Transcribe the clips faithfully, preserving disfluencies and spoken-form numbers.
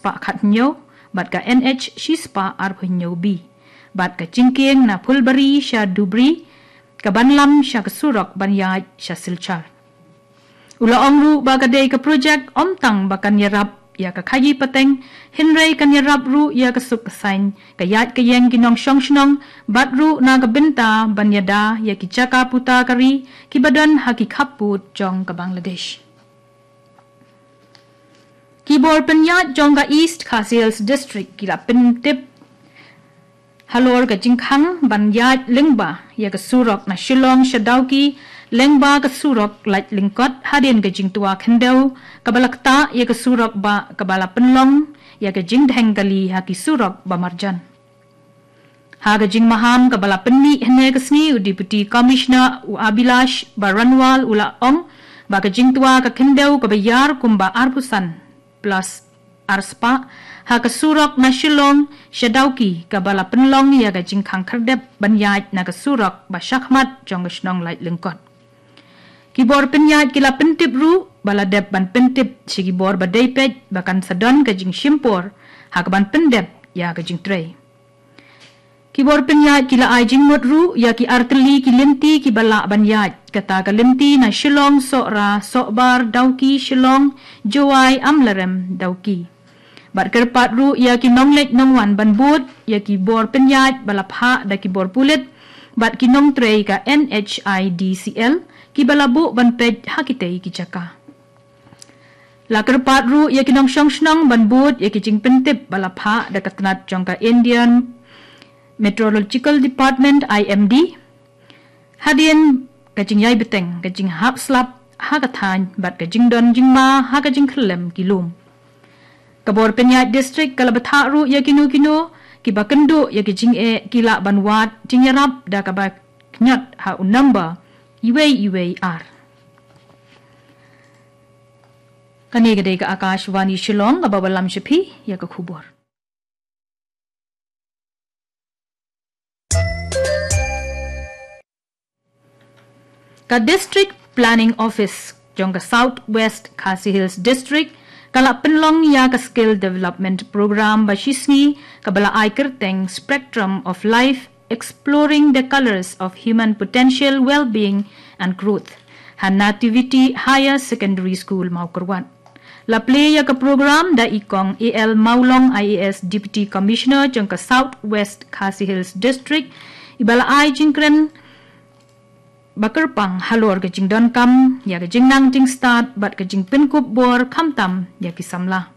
spah khathynñiew bad ka N H shispah arphew hynñiew B bad ka jingkieng na Phulbari sha Dhubri ka ban lam sha ka surok ban ïaid sha Silchar. U la ong ruh ba ka dei ka projek ym tang ba kan ïarap ïa ka khaïi pateng, hynrei kan ïarap ruh ïa ka suk ka saiñ, ka ïaid ka ïeng ki nongshong shnong, bad ruh na ka bynta ban ïada ïa ki jaka puta ka ri kiba don ha ki khappud jong ka Bangladesh. Ki bor pynïaid jong ka East Khasi Hills District ki la pyntip halor ka jingkhang ban ïaid lyngba ïa ka surok na Shillong sha Dawki, lyngba ka surok laitlyngkot hadien ka jingtwa khyndew kaba la ktah ïa ka surok ba kaba la pynlong ïa ka jingdheng kali ha ki surok ba marjan. Ha ka jingmaham kaba la pynmih hynne ka sngi, u Deputy Commissioner u Abhilash Baranwal u la ong ba ka jingtwa ka khyndew kaba ïar kumba arphew san plus arspah ha ka surok na Shillong sha Dawki kaba la pynlong ïa ka jingkhang khyrdep ban ïaid na ka surok ba shakhmat jong ka shnong laitlyngkot. Ki bor pynïaid ki la pyntip ruh ba la dep ban pyntip sha ki bor ba dei peit ba kan sa don ka jingshimpor ha kaban pyndep ïa ka jingtrei. Ki bor pynïaid ki la ai jingmut ruh ïa ki artylli ki lynti kiba lah ban ïaid, kata ka lynti na Shillong Sohra Sohbar Dawki Shillong, Jowai Amlarem Dawki. Bad kyrpad ruh ïa ki nongleit nongwan ban bud ïa ki bor pynïaid ba la phah da ki bor pulit bad ki nongtrei ka N H I D C L kiba la buh ban peit ha kitei ki jaka. La kyrpad ruh ïa ki nongshong shnong ban bud ïa ki jingpyntip ba la phah da ka tnat jong ka Indian Meteorological Department, I M D, hadien ka jingïai bteng, ka jinghap slap ha ka thaiñ bad ka jingdon jingma ha ka jingkhyllem ki lum. Ka bor pynïaid district ka la bthah ruh ïa kino kino kiba kynduh ïa ki jingeh ki lah ban wad jingïarap da kaba khñiot ha u number iwei iwei ar. Kane ka dei ka Akashvani Shillong kaba wallam sha phi ïa ka khubor. Ka District Planning Office jong ka South West Khasi Hills District ka la pynlong ïa ka Skill Development Program ba shisngi kaba la ai kyrteng Spectrum of Life, Exploring the Colors of Human Potential, Well-Being and Growth ha Nativity Higher Secondary School, Mawkyrwat. La plie ïa ka program da i Kong A L Mawlong, I A S, Deputy Commissioner jong ka South West Khasi Hills District, iba la ai jingkren ba kyrpang halor ka jingdonkam ïa ka jingnang jingstad bad ka jingpynkup bor khamtam ïa ki samla.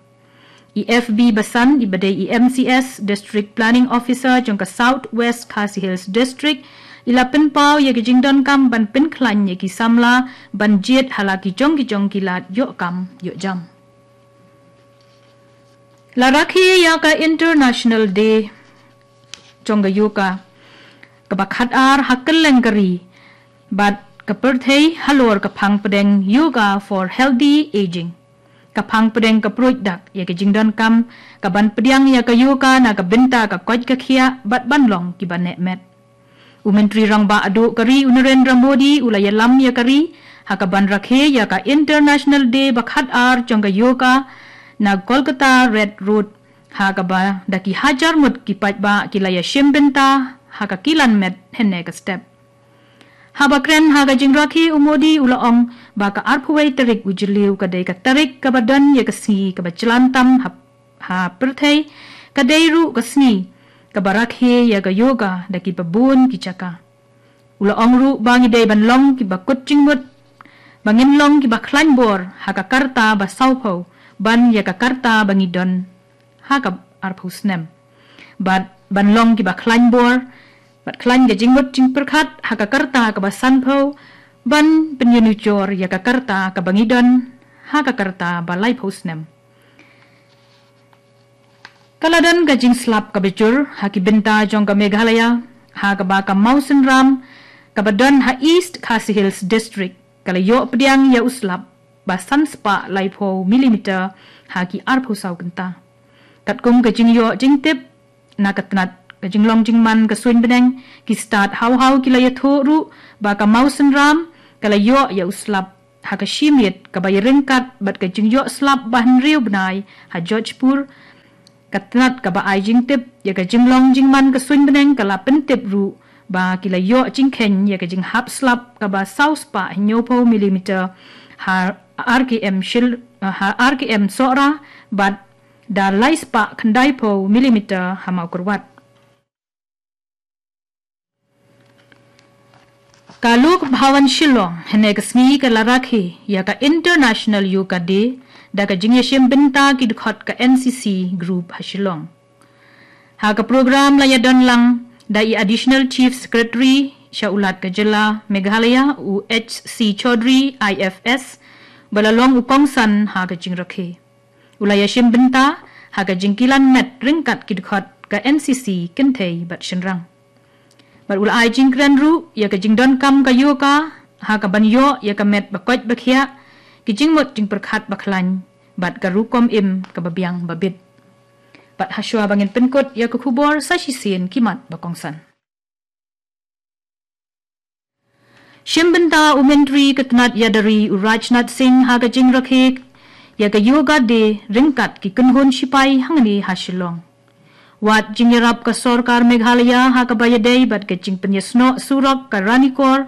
I F B Basan, iba dei i M C S, District Planning Officer jong ka South West Khasi Hills District, i la pynpaw ïa ka jingdonkam ban pynkhlaiñ ïa ki samla ban jied ha la ki jong ki jong ki lad ïoh kam ïoh jam. La rakhe ïa ka International Day jong ka Yoga kaba khatar ha kylleng ka ri bad ka pyrthei halor ka phang pdeng Yoga for Healthy Aging. Ka phang pdeng ka pruid dak ïa ka jingdonkam kaban pdiang ïa ka yoga na ka bynta ka koit ka khiah bad ban long kiba neh met. U Myntri Rangbah Duh ka ri u Narendra Modi u la ïalam ïa ka ri ha kaban rakhe ïa ka International Day ba khatar jong ka yoga na Kolkata Red Road, ha kaba da ki hajar ngut ki paidbah ki la ïashim bynta ha ka kilan met hynne ka step. Haba kren ha ka jingrakhe, u Modi u la ong ba ka arphew wei tarik u Jylliew ka dei ka tarik kaba don ïa ka sngi kaba jlan tam ha, ha pyrthei, ka dei ruh ka sngi kaba rakhe ïa ka yoga da kiba bun ki jaka. U la ong ruh ba ngi dei ban long kiba kut jingmut, ba ngin long kiba khlaiñ bor ha ka karta ba sawphew ban ïa ka karta ba ngi don ha ka arphew snem. Bad ban long kiba khlaiñ bor bad khlaiñ ka jingmut jingpyrkhat ha ka karta kaba sanphew ban pynïanujor ïa ka karta kaba ngi don ha ka karta ba laiphew snem. Ka la don ka jingslap kaba jur ha ki bynta jong ka Meghalaya, ha kaba ka mawsynram kaba don ha East Khasi Hills District ka la ïoh pdiang ïa u slap ba san spah laiphew millimeter ha ki arphew saw kynta. Katkum ka jingïoh jingtip na ka tnat ka jinglong jingman ka suiñ bneng, ki stad haw haw ki la ïathuh ruh ba ka mawsynram ka la ïoh ïa u slap ha ka shi miet kaba ïaryngkat bad ka jingïoh slap ba hynriew bnai ha Jodhpur, Ka tnat kaba ai jingtip ïa ka jinglong jingman ka suiñ bneng ka la pyntip ruh ba ki la ïoh jingkheiñ ïa ka jinghap slap kaba saw spah hynñiewphew millimeter ha R K M Shil-, ha R K M Sohra bad da lai spah khyndaiphew millimeter ha Mawkyrwat. Ka Lok Bhavan Shillong hynne ka sngi ka la rakhe ïa ka International Yoga Day da ka jingïashim bynta ki dkhot ka N C C Group ha Shillong. Ha ka program la ïadon lang da i Additional Chief Secretary sha u Lat ka jylla Meghalaya u H C Chaudhary I F S ba la long u kongsan ha ka jingrakhe. U la ïashim bynta ha ka jingkilan met ryngkat ki dkhot ka N C C kynthei bad shynrang. Bad u la ai jingkren ruh ïa ka jingdonkam ka yoga ha ka ban ïoh ïa ka met ba koit ba khiah, ki jingmut jingpyrkhat ba khlaiñ bad ka rukom im kaba biang ba bit. Bad ha shuwa ba ngin pynkut ïa ka khubor sa shisien ki mat ba kongsan. Shim bynta u Myntri ka tnat ïada ri u Rajnath Singh ha ka jingrakhe ïa ka Yoga Day ryngkat ki kynhun shipai hangne ha Shillong. Wat jingïarap ka sorkar Meghalaya ha kaba ïadei bad ka jingpynïasnoh surok ka Ranikor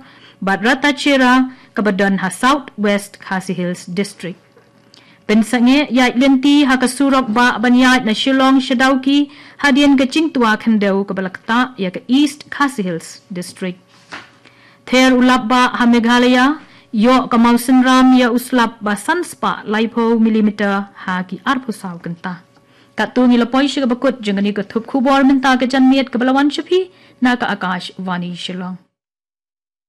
bad Ratacherra kaba don ha South West Khasi Hills District. Pynsangeh ïaid lynti ha ka surok bah ban ïaid na Shillong sha Dawki hadien ka jingtwa khyndew kaba la ktah ïa ka East Khasi Hills District. Ther u lap bah ha Meghalaya, ïoh ka mawsynram ïa u slap ba san spah laiphew millimeter ha ki arphew saw kynta. Katto ngi la poi sha kaba kut jong kane ka thup khubor mynta ka janmiet kaba la wan sha phi na ka Akashvani Shillong.